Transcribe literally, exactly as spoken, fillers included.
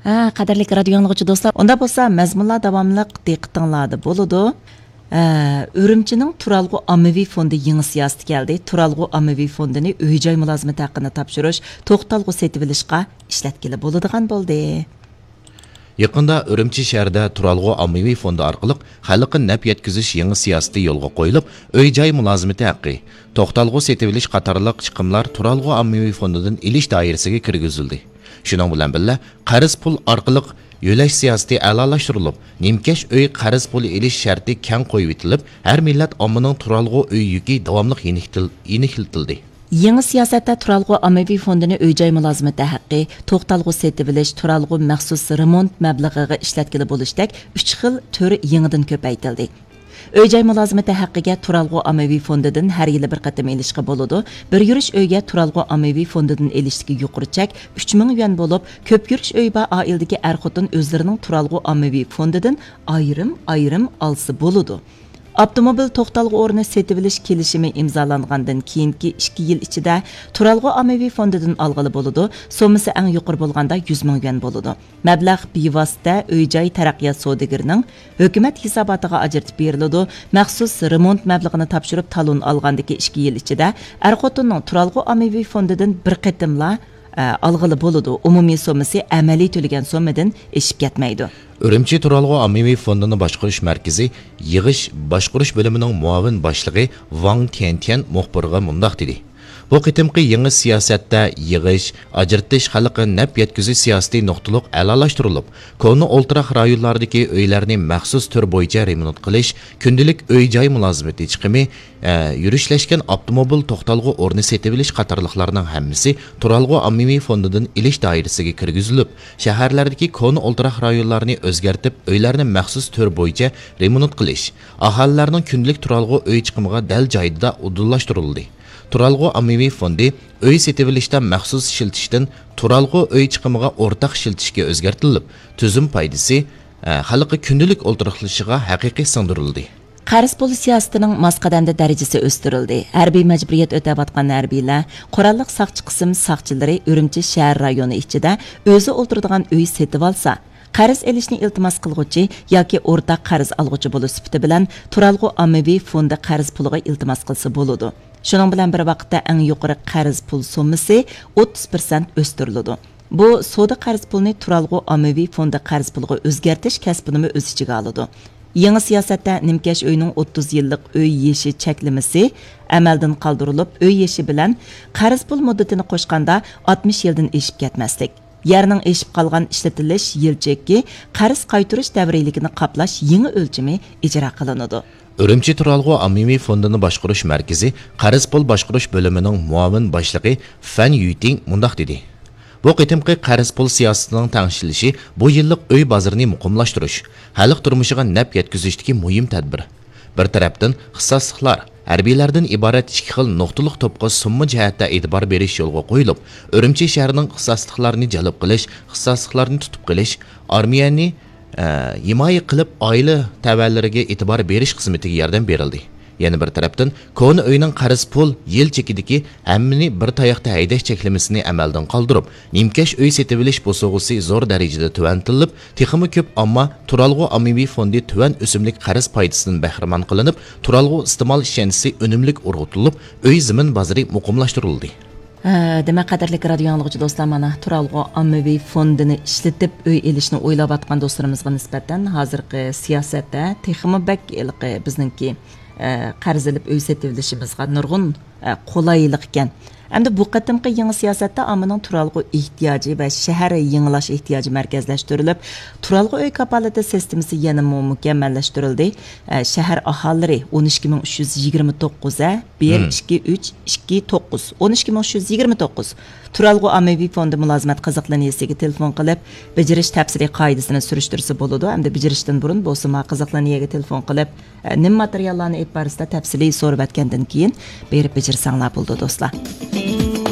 ھە، قەدىرلىك رادىيو ئاڭلىغۇچى دوستلار، ئۇنداق بولسا مەزمۇنلار داۋاملىق دىققىتىڭلاردا بولىدۇ. ھە، ئۈرۈمچىنىڭ تۇرالغۇ ئاممىۋى فوندى يېڭى سىياسىتى كەلدى. تۇرالغۇ ئاممىۋى فوندىنى ئۆي-جاي مۇلازىمىتى ھەققىنى تاپشۇرۇش، توختالغۇ سېتىۋېلىشقا ئىشلەتكىلى بولىدىغان بولدى. يېقىندا ئۈرۈمچى شەھىرىدە تۇرالغۇ ئاممىۋى فوندى ئارقىلىق خەلققە نەپ يەتكۈزۈش يېڭى سىياسىتى يولغا قويۇلۇپ، ئۆي-جاي مۇلازىمىتى ھەققى، توختالغۇ سېتىۋېلىش قاتارلىق چىقىملار تۇرالغۇ ئاممىۋى فوندىدىن ئېلىش دائىرىسىگە كىرگۈزۈلدى. شۇنىڭ بىلەن بىللە، قەرز پۇل ئارقىلىق يۆلەش سىياسىتى ئەلالاشتۇرۇلۇپ، نىمكەش ئۆي قەرز پۇلى ئېلىش شەرتى كەڭ قويۇۋېتىلىپ، ھەر مىللەت ئاممىنىڭ تۇرالغۇ ئۆي يۈكى داۋاملىق يېنىكتىل-، يېنىكلىتىلدى. يېڭى سىياسەتتە تۇرالغۇ ئاممىۋى فوندىنى ئۆي-جاي مۇلازىمىتى ھەققى، توختالغۇ سېتىۋېلىش، تۇرالغۇ مەخسۇس رېمونت مەبلىغىغا ئىشلەتكىلى بولۇشتەك ئۈچ خىل تۈر يېڭىدىن كۆپەيتىلدى. ئۆي-جاي مۇلازىمىتى ھەققىگە تۇرالغۇ ئاممىۋى فوندىدىن ھەر يىلى بىر قېتىم ئېلىشقا بولىدۇ. بىر يۈرۈش ئۆيگە تۇرالغۇ ئاممىۋى فوندىدىن ئېلىشتىكى يۇقىرى چەك ئۈچ مىڭ يۈەن بولۇپ، كۆپ يۈرۈش ئۆيى بار ئائىلىدىكى ئەر-خوتۇن ئۆزلىرىنىڭ تۇرالغۇ ئاممىۋى فوندىدىن ئايرىم-ئايرىم ئالسا بولىدۇ. ئاپتوموبىل توختالغۇ ئورنى سېتىۋېلىش كېلىشىمى ئىمزالانغاندىن كېيىنكى ئىككى يىل ئىچىدە تۇرالغۇ ئاممىۋى فوندىدىن ئالغىلى بولىدۇ، سوممىسى ئەڭ يۇقىرى بولغاندا يۈز مىڭ يۈەن بولىدۇ. مەبلەغ بىۋاسىتە ئۆي-جاي تەرەققىيات سودىگىرىنىڭ ھۆكۈمەت ھېساباتىغا ئاجرىتىپ بېرىلىدۇ، مەخسۇس رېمونت مەبلىغىنى تاپشۇرۇپ تالون ئالغاندىكى ئىككى يىل ئىچىدە ئەر-خوتۇننىڭ تۇرالغۇ ئاممىۋى فوندىدىن بىر قېتىملا، ئە، ئالغىلى بولىدۇ، ئومۇمىي سوممىسى ئەمەلىي تۆلىگەن سوممىدىن ئېشىپ كەتمەيدۇ. ئۈرۈمچى تۇرالغۇ ئاممىۋى فوندىنى باشقۇرۇش مەركىزى يىغىش باشقۇرۇش بۆلۈمىنىڭ مۇئاۋىن باشلىقى ۋاڭ تيەنتيەن مۇخبىرغا مۇنداق دېدى: بۇ قېتىمقى يېڭى سىياسەتتە يىغىش، ئاجرىتىش خەلققە نەپ يەتكۈزۈش سىياسىتى نۇقتىلىق ئەلالاشتۇرۇلۇپ، كونا ئولتۇراق رايونلاردىكى ئۆيلەرنى مەخسۇس تۈر بويىچە رېمونت قىلىش، كۈندىلىك ئۆي-جاي مۇلازىمىتى چىقىمى، ئە، يۈرۈشلەشكەن ئاپتوموبىل توختالغۇ ئورنى سېتىۋېلىش قاتارلىقلارنىڭ ھەممىسى تۇرالغۇ ئاممىۋى فوندىدىن ئېلىش دائىرىسىگە كىرگۈزۈلۈپ، شەھەرلەردىكى كونا ئولتۇراق رايونلارنى ئۆزگەرتىپ، ئۆيلەرنى مەخسۇس تۈر بويىچە رېمونت قىلىش، ئاھالىلەرنىڭ كۈندىلىك تۇرالغۇ ئۆي چىقىمىغا دەل جايىدا ئۇدۇللاشتۇرۇلدى. تۇرالغۇ ئاممىۋى فوندى ئۆي سېتىۋېلىشتا مەخسۇس ئىشلىتىشتىن تۇرالغۇ ئۆي چىقىمىغا ئورتاق ئىشلىتىشكە ئۆزگەرتىلىپ، تۈزۈم پايدىسى، ئە، خەلققە كۈندىلىك ئولتۇراقلىشىشىغا ھەقىقىي سىڭدۈرۈلدى. قەرز پۇل سىياسىتىنىڭ ماس قەدەمدە دەرىجىسى ئۆستۈرۈلدى. ھەربىي مەجبۇرىيەت ئۆتەۋاتقان ھەربىيلەر، قوراللىق ساقچى قىسىم ساقچىلىرى ئۈرۈمچى شەھەر رايونى ئىچىدە ئۆزى ئولتۇرىدىغان ئۆي سېتىۋالسا، قەرز ئېلىشنى ئىلتىماس قىلغۇچى ياكى ئورتاق قەرز ئالغۇچى بولۇش سۈپىتى بىلەن تۇرالغۇ ئاممىۋى فوندى قەرز پۇلىغا ئىلتىماس قىلسا بولىدۇ. شۇنىڭ بىلەن بىر ۋاقىتتا، ئەڭ يۇقىرى قەرز پۇل سوممىسى ئوتتۇز پىرسەنت ئۆستۈرۈلىدۇ. بۇ سودا قەرز پۇلنى تۇرالغۇ ئاممىۋى فوندى قەرز پۇلىغا ئۆزگەرتىش كەسپىنىمۇ ئۆز ئىچىگە ئالىدۇ. يېڭى سىياسەتتە نىمكەش ئۆينىڭ ئوتتۇز يىللىق ئۆي يېشى چەكلىمىسى ئەمەلدىن قالدۇرۇلۇپ، ئۆي يېشى بىلەن قەرز پۇل مۇددىتىنى قوشقاندا ئاتمىش يىلدىن ئېشىپ كەتمەسلىك، يەرنىڭ ئېشىپ قالغان ئىشلىتىلىش يىل چېكى، قەرز قايتۇرۇش دەۋرىيلىكىنى قاپلاش يېڭى ئۆلچىمى ئىجرا قىلىنىدۇ. ئۈرۈمچى تۇرالغۇ ئاممىۋى فوندىنى باشقۇرۇش مەركىزى قەرز پۇل باشقۇرۇش بۆلۈمىنىڭ مۇئاۋىن باشلىقى فەن يۈتىڭ مۇنداق دېدى: بۇ قېتىمقى قەرز پۇل سىياسىتىنىڭ تەڭشىلىشى بۇ يىللىق ئۆي بازىرىنى مۇقىملاشتۇرۇش، خەلق تۇرمۇشىغا نەپ يەتكۈزۈشتىكى مۇھىم تەدبىر. بىر تەرەپتىن، ئىختىساسلىقلار، ھەربىيلەردىن ئىبارەت ئىككى خىل نۇقتىلىق توپقا سۇمما جەھەتتە ئېتىبار بېرىش يولغا قويۇلۇپ، ئۈرۈمچى شەھىرىنىڭ ئىختىساسلىقلارنى جەلپ قىلىش، ئىختىساسلىقلارنى تۇتۇپ قېلىش، ئارمىيەنى، ئە، ھىمايە قىلىپ، ئائىلە تەۋەلىرىگە ئېتىبار بېرىش خىزمىتىگە ياردەم بېرىلدى. يەنە بىر تەرەپتىن، كونا ئۆينىڭ قەرز پۇل يىل چېكىدىكى ھەممىنى بىر تاياقتا ھەيدەش چەكلىمىسىنى ئەمەلدىن قالدۇرۇپ، نىمكەش ئۆي سېتىۋېلىش بوسۇغىسى زور دەرىجىدە تۆۋەنلىتىلىپ، تېخىمۇ كۆپ ئامما تۇرالغۇ ئاممىۋى فوندى تۆۋەن ئۆسۈملۈك قەرز پايدىسىدىن بەھرىمەن قىلىنىپ، تۇرالغۇ ئىستېمال ئىشەنچىسى ئۈنۈملۈك ئۇرغۇتۇلۇپ، ئۆي زېمىن بازىرى مۇقىملاشتۇرۇلدى. ھە، دېمەك، قەدىرلىك رادىيو ئاڭلىغۇچى دوستلار، مانا، تۇرالغۇ ئاممىۋى فوندىنى ئىشلىتىپ ئۆي ئېلىشنى ئويلاۋاتقان دوستلىرىمىزغا نىسبەتەن ھازىرقى سىياسەتتە تېخىمۇ بەك ھېلىقى بىزنىڭكى، ئە، قەرز ئېلىپ ئۆي سېتىۋېلىشىمىزغا نۇرغۇن، ئە، قولايلىق ئىكەن. ئەمدى بۇ قېتىمقى يېڭى سىياسەتتە ئاممىنىڭ تۇرالغۇ ئېھتىياجى ۋە شەھەر يېڭىلاش ئېھتىياجى مەركەزلەشتۈرۈلۈپ، تۇرالغۇ ئۆي كاپالىتى سىستېمىسى يەنىمۇ مۇكەممەللەشتۈرۈلدى. ئە، شەھەر ئاھالىلىرى ئون ئىككى مىڭ ئۈچ يۈز يىگىرمە توققۇز، ئە، بىر، مم. ئىككى، ئۈچ، ئىككى، توققۇز، ئون ئىككى مىڭ ئۈچ يۈز يىگىرمە توققۇز تۇرالغۇ ئاممىۋى فوندى مۇلازىمەت قىزىق لىنىيەسىگە تېلېفون قىلىپ، بېجىرىش تەپسىلىي قائىدىسىنى سۈرۈشتۈرسە بولىدۇ. ئەمدى بېجىرىشتىن بۇرۇن بولسىمۇ قىزىق لىنىيەگە تېلېفون قىلىپ، ئە، نېمە ماتېرىياللارنى ئېلىپ بارىسىلەر تەپسىلىي سورىۋەتكەندىن كېيىن بېرىپ بېجىرسەڭلار بولىدۇ، دوستلار.